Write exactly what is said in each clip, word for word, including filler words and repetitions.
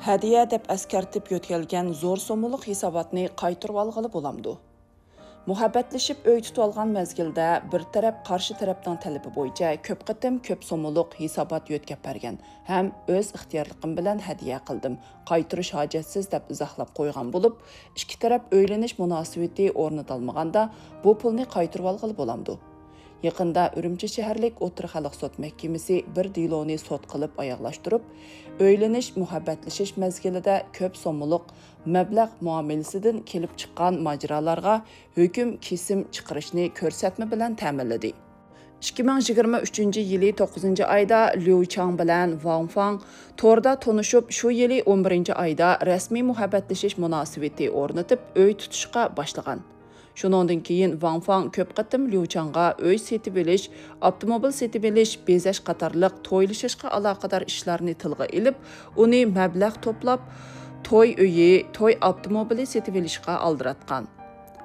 ھەدىيە دەپ ئەسكەرتىپ يۆتكەلگەن زور سوممىلىق ھېساباتنى قايتۇرۇۋالغىلى بولامدۇ؟ مۇھەببەتلىشىپ ئۆي تۇتۇۋالغان مەزگىلدە بىر تەرەپ قارشى تەرەپنىڭ تەلىپى بويىچە كۆپ قېتىم كۆپ سوممىلىق ھېسابات يۆتكەپ بەرگەن ھەم ئۆز ئىختىيارلىقىم بىلەن ھەدىيە قىلدىم، قايتۇرۇش ھاجەتسىز دەپ ئىزاھلاپ قويغان بولۇپ، ئىككى تەرەپ ئۆيلىنىش مۇناسىۋىتى ئورنىتالمىغاندا بۇ پۇلنى قايتۇرۇۋالغىلى بولامدۇ؟ يېقىندا ئۈرۈمچى شەھەرلىك ئوتتۇرا خەلق سوت مەھكىمىسى بىر دېلونى سوت قىلىپ ئاياغلاشتۇرۇپ، ئۆيلىنىش، مۇھەببەتلىشىش مەزگىلىدە كۆپ سوممىلىق مەبلەغ مۇئامىلىسىدىن كېلىپ چىققان ماجىرالارغا ھۆكۈم كېسىم چىقىرىشنى كۆرسەتمە بىلەن تەمىنلىدى. ئىككى مىڭ يىگىرمە ئۈچىنچى يىلى توققۇزىنچى ئايدا ليۇ چاڭ بىلەن ۋاڭ فاڭ توردا تونۇشۇپ، شۇ يىلى ئون بىرىنچى ئايدا رەسمىي مۇھەببەتلىشىش مۇناسىۋىتى ئورنىتىپ، ئۆي تۇتۇشقا باشلىغان. شۇنىڭدىن كېيىن ۋاڭ فاڭ كۆپ قېتىم ليۇ چاڭغا ئۆي سېتىۋېلىش، ئاپتوموبىل سېتىۋېلىش، بېزەش قاتارلىق تويلىشىشقا ئالاقىدار ئىشلارنى تىلغا ئېلىپ، ئۇنى مەبلەغ توپلاپ، توي ئۆيى، توي ئاپتوموبىلى سېتىۋېلىشقا ئالدىراتقان.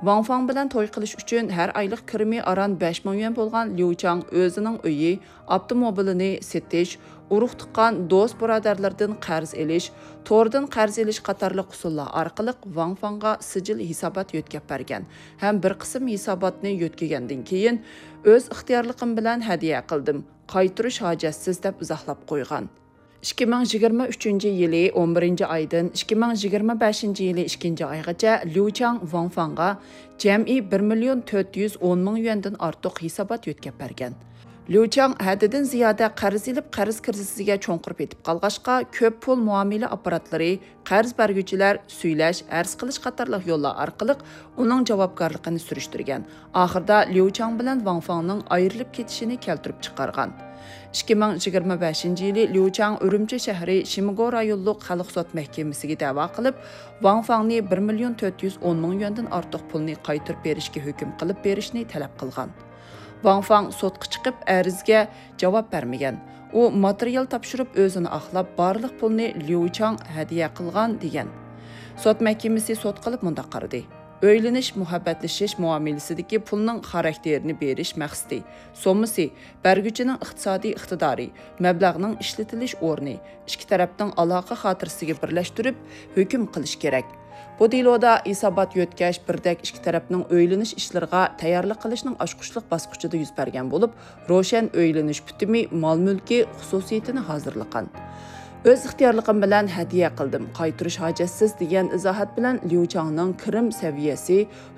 ۋاڭ فاڭ بىلەن توي قىلىش ئۈچۈن ھەر ئايلىق كىرىمى ئاران بەش مىڭ يۈەن بولغان ليۇ چاڭ ئۆزىنىڭ ئۆيى، ئاپتوموبىلىنى سېتىش، ئۇرۇق-تۇغقان، دوست-بۇرادەرلىرىدىن قەرز ئېلىش، توردىن قەرز ئېلىش قاتارلىق ئۇسۇللار ئارقىلىق ۋاڭ فاڭغا سىجىل ھېسابات يۆتكەپ بەرگەن ھەم بىر قىسىم ھېساباتنى يۆتكىگەندىن كېيىن، ئۆز ئىختىيارلىقىم بىلەن ھەدىيە قىلدىم، قايتۇرۇش ھاجەتسىز دەپ ئىزاھلاپ قويغان. ئىككى مىڭ يىگىرمە ئۈچىنچى يىلى ئون بىرىنچى ئايدىن ئىككى مىڭ يىگىرمە بەشىنچى يىلى ئىككىنچى ئايغىچە ليۇ چاڭ ۋاڭ فاڭغا جەمئىي بىر مىليون تۆت يۈز ئون مىڭ يۈەندىن ئارتۇق ھېسابات يۆتكەپ بەرگەن. ليۇ چاڭ ھەددىدىن زىيادە قەرز ئېلىپ، قەرز كىرىزىسىگە چوڭقۇر پېتىپ قالغاچقا، كۆپ پۇل مۇئامىلە ئاپپاراتلىرى، قەرز بەرگۈچىلەر، سۈيلەش، ئەرز قىلىش قاتارلىق يوللار ئارقىلىق ئۇنىڭ جاۋابكارلىقىنى سۈرۈشتۈرگەن. ئاخىرىدا ليۇ چاڭ بىلەن ۋاڭ فاڭنىڭ ئايرىلىپ كېتىشىنى كەلتۈرۈپ چىقارغان. ئىككى مىڭ يىگىرمە بەشىنچى يىلى ليۇ چاڭ ئۈرۈمچى شەھىرى شىمگو رايونلۇق خەلق سوت مەھكىمىسىگە دەۋا قىلىپ، ۋاڭ فاڭنى بىر مىليون تۆت يۈز ئون مىڭ يۈەندىن ئارتۇق پۇلنى قايتۇرۇپ بېرىشكە ھۆكۈم قىلىپ بېرىشنى تەلەپ قىلغان. ۋاڭ فاڭ سوتقا چىقىپ، ئەرزگە جاۋاب بەرمىگەن. ئۇ ماتېرىيال تاپشۇرۇپ، ئۆزىنى ئاقلاپ، بارلىق پۇلنى ليۇ چاڭ ھەدىيە قىلغان، دېگەن. سوت مەھكىمىسى سوت قىلىپ مۇنداق قارىدى: ئۆيلىنىش، مۇھەببەتلىشىش مۇئامىلىسىدىكى پۇلنىڭ خاراكتېرىنى بېرىش مەقسىتى، سوممىسى، بەرگۈچىنىڭ ئىقتىسادىي ئىقتىدارى، مەبلەغنىڭ ئىشلىتىلىش ئورنى، ئىككى تەرەپنىڭ ئالاقە خاتىرىسىگە بىرلەشتۈرۈپ ھۆكۈم قىلىش كېرەك. بۇ دېلودا ھېسابات يۆتكەش بىردەك ئىككى تەرەپنىڭ ئۆيلىنىش ئىشلىرىغا تەييارلىق قىلىشنىڭ ئاچقۇچلۇق باسقۇچىدا يۈز بەرگەن بولۇپ، روشەن ئۆيلىنىش پۈتۈمى مال-مۈلكى خۇسۇسىيىتىنى ھازىرلىغان. ئۆز ئىختىيارلىقىم بىلەن ھەدىيە قىلدىم، قايتۇرۇش ھاجەتسىز، دېگەن ئىزاھات بىلەن ليۇ چاڭنىڭ كىرىم سەۋىيەسى